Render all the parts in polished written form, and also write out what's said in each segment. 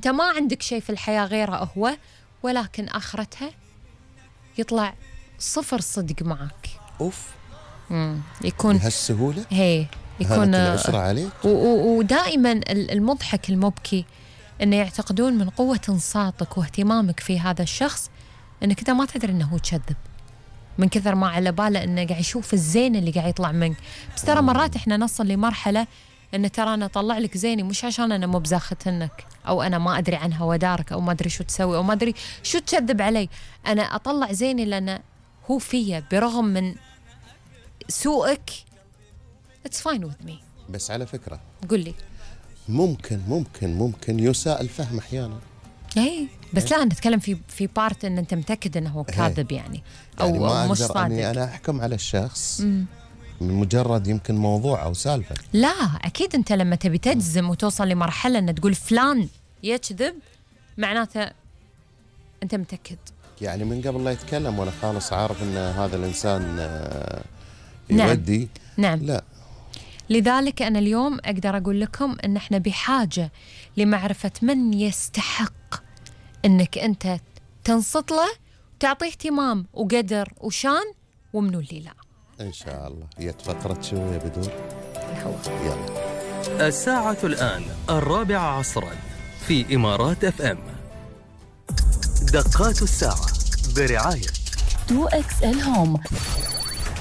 أنت ما عندك شيء في الحياة غيره هو، ولكن آخرتها يطلع صفر صدق معك. أوف. يكون بهالسهولة؟ هي يكون العسرة عليك. ودائما المضحك المبكي إنه يعتقدون من قوة انصاتك واهتمامك في هذا الشخص إنك أنت ما تدري إنه هو كذب، من كثر ما على باله إنه قاعد يشوف الزين اللي قاعد يطلع منك. بس ترى مرات إحنا نصل لمرحلة إنه ترى أنا أطلع لك زيني مش عشان أنا مو بزاختنك، أو أنا ما أدري عنها ودارك، أو ما أدري شو تسوي، أو ما أدري شو تكذب علي. أنا أطلع زيني لأن هو فيا برغم من سوءك. It's fine with me. بس على فكرة قل لي. ممكن يساء الفهم أحيانا. اي بس لا نتكلم في بارت ان انت متاكد انه هو كاذب يعني او ما مش أقدر صادق. أني أنا أحكم على الشخص من مجرد يمكن موضوع أو سالفة. لا أكيد أنت لما تبي تجزم وتوصل لمرحلة أن تقول فلان يكذب معناته أنت متأكد. يعني من قبل لا يتكلم وأنا خالص عارف أن هذا الإنسان يودي. نعم. لا. لذلك أنا اليوم أقدر أقول لكم أن احنا بحاجة لمعرفة من يستحق أنك أنت تنصت له وتعطيه اهتمام وقدر وشان، ومنو اللي لا. إن شاء الله. يتفقرت شوية بدون يلا. الساعة الآن 4 عصرا في إمارات FM. دقات الساعة برعاية 2XL هوم.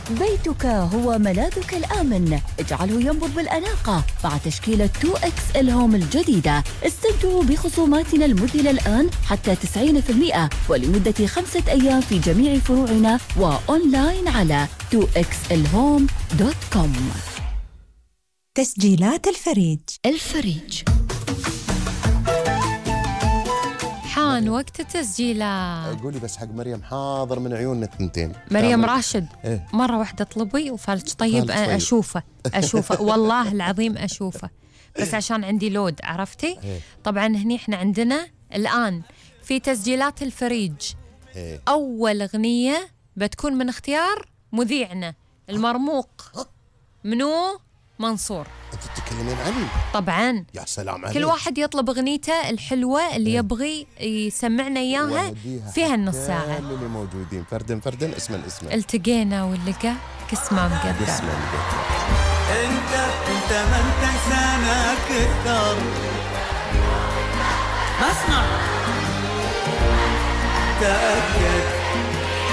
بيتك هو ملاذك الآمن، اجعله ينبض بالأناقة مع تشكيلة 2XL هوم الجديدة. استمتعوا بخصوماتنا المذهلة الآن حتى 90% ولمدة 5 أيام في جميع فروعنا وأونلاين على 2xlhome.com. تسجيلات الفريج. حان وقت التسجيلات. قولي بس حق مريم حاضر من عيوننا الثنتين. مريم راشد إيه؟ مرة واحدة طلبي وفالج طيب أشوفه والله العظيم أشوفه، بس عشان عندي لود عرفتي. إيه؟ طبعا هني احنا عندنا الآن في تسجيلات الفريج. إيه؟ أول أغنية بتكون من اختيار مذيعنا المرموق منو منصور. أنت تتكلمين عني؟ طبعا. يا سلام عليك. كل واحد يطلب أغنيته الحلوة اللي يبغي يسمعنا إياها في هالنص ساعة. اللي موجودين فردن اسم التقينا واللقى كسمة مقدر. انت ما انت انسانك اكثر. اسمع تأكد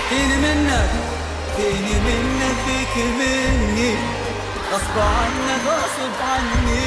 فيني منك فيك مني غصب عنك غصب عني.